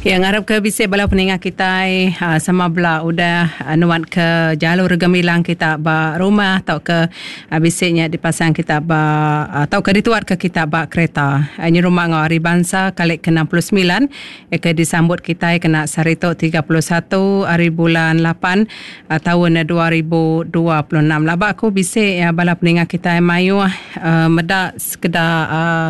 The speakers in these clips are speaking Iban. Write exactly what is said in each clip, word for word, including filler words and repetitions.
Ya, ngarap ke bisi bala peninga kitai uh, sama bela udah uh, nuat ke jalur gemilang kita ba rumah atau ke uh, bisinya dipasang kita ba atau ke dituat ke kita ba kereta. Uh, ini rumah ngau hari bangsa kali ke enam puluh sembilan ya, ke disambut kitai kena sehari tu tiga puluh satu hari bulan lapan uh, tahun dua ribu dua puluh enam. Laba aku bisi uh, bala peninga kitai mayuh uh, meda sekedar uh,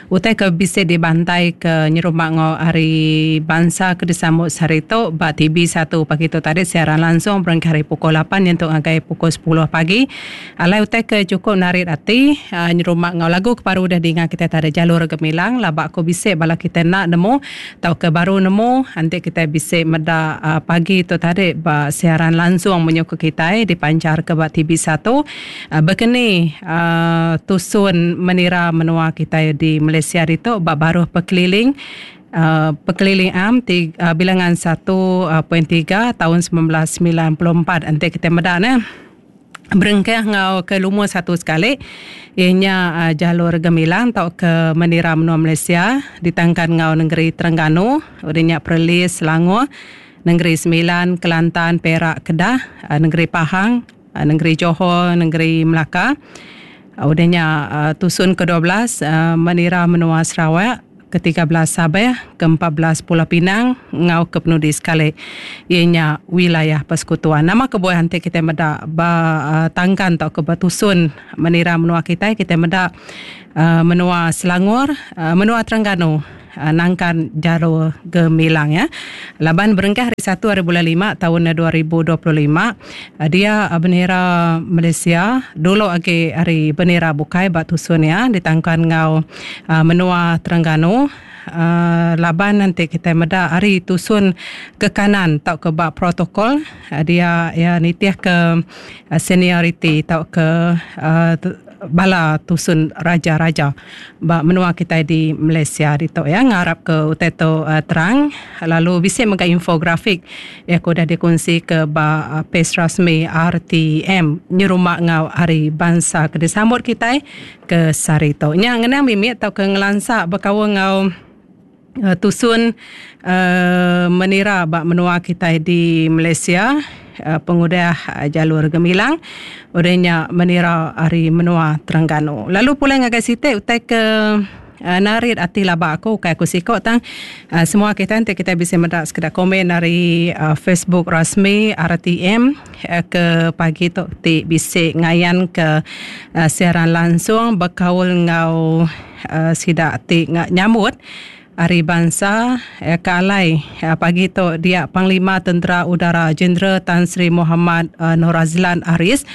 utai ke bisi dibantai ke nyerumah ngau hari bangsa bangsa ke disambut sehari tu ba T V satu pagi tu tadi siaran langsung berengkah hari pukul lapan nyentuk ngagai pukul sepuluh pagi. Alai utai ke cukup narit ati uh, nyerumah ngau lagu ke baru dah dinga kita tadi Jalur Gemilang. Laba aku bisi bala kita nak nemu tau ke baru nemu nanti kita bisi meda uh, pagi tu tadi ba siaran langsung menyuku kita dipancar ke ba T V satu uh, berkeni uh, tusun menira menua kita di Malaysia itu ba baruh perkeliling Uh, perkeliling am tiga, uh, bilangan satu perpuluhan tiga tahun sembilan belas sembilan puluh empat. Nanti kita medak ne berengkah ngau ke lumur satu sekali ianya uh, Jalur Gemilang atau ke Menira Menua Malaysia ditangkan ngau negeri Terengganu, udahnya Perlis, Selangor, Negeri Sembilan, Kelantan, Perak, Kedah, uh, Negeri Pahang, uh, Negeri Johor, Negeri Melaka. Uh, udahnya uh, tusun ke dua belas uh, Menira Menua Sarawak, ke tiga belas Sabah, ke empat belas Pulau Pinang, ngau ke penudi sekali ianya wilayah persekutuan. Nama kebuah nanti kita medak ba uh, tangkan atau ke batusun menira menua kita, kita medak uh, menua Selangor, uh, menua Terengganu, uh, nangkan Jalur Gemilang ya. Laban berengkah hari satu hari bulan lima tahun dua ribu dua puluh lima, uh, dia uh, bendera Malaysia dulu agi hari bendera bukai batusun ya ditangkan ngau uh, menua Terengganu. Uh, laban nanti kita meda hari tusun ke kanan tau ke bak protokol uh, dia ya nitih ke uh, seniority tau ke uh, bala tusun raja-raja bak menua kita di Malaysia ditu ya. Ngarap ke utai tu uh, terang. Lalu bisa mega infografik ya aku dah dikongsi ke ba uh, page rasmi R T M nyerumah ngau hari bangsa ke disambut kita ke sehari tu. Nya ngenang mimit tau ke ngelansak berkaul ngau Uh, tusun uh, menira bak menua kita di Malaysia uh, pengudah uh, Jalur Gemilang udahnya menira hari menua Terengganu. Lalu pulang ngagai siti utai ke uh, narit ati laba aku kai aku sikok tang uh, semua kita nanti kita bisa mendak sekedar komen dari uh, Facebook rasmi R T M uh, ke pagi tu ti bisa ngayan ke uh, siaran langsung berkaul ngau uh, sidak ti nyambut Hari Bangsa eh, ke alai eh, pagi tu dia Panglima Tentera Udara Jeneral Tan Sri Muhammad eh, Norazlan Aris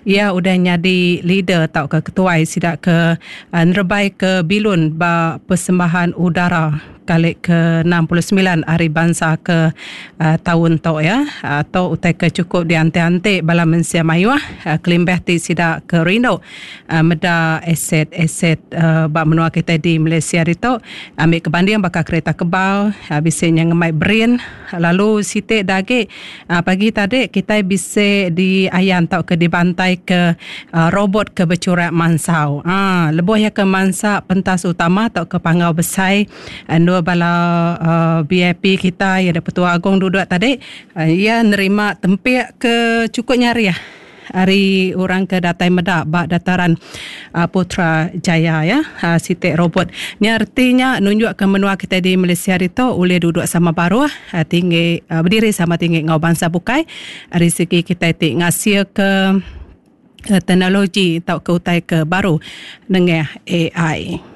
ia udah nyadi leader tau ke ketuai sidak ke eh, nerebai ke bilun ba persembahan udara kali ke enam puluh sembilan Hari Bangsa ke uh, tahun tu ya atau utai ke cukup diante-ante bala mensia mayuh uh, kelimbah ti sidak ke rindu uh, meda aset-aset uh, ba menua kita di Malaysia itu ambil kebanding bakal kereta kebal uh, bisa yang ngemai brain lalu sitik dagi uh, pagi tadi kita bisa di ayan tau ke dibantai ke uh, robot ke bercurak mansau ah uh, lebuh ya ke mansa pentas utama tau ke pangau besai uh, bala uh, V I P kita yang ada Pertua Agong duduk tadi uh, ia nerima tempik ke cukup nyari ya hari orang ke datai medak bak dataran uh, Putrajaya ya uh, sitik robot ni artinya nunjuk ke menua kita di Malaysia itu boleh duduk sama baruh uh, tinggi uh, berdiri sama tinggi ngau bangsa bukai dari segi kita ti ngasil ke uh, teknologi atau ke utai ke baru dengan A I.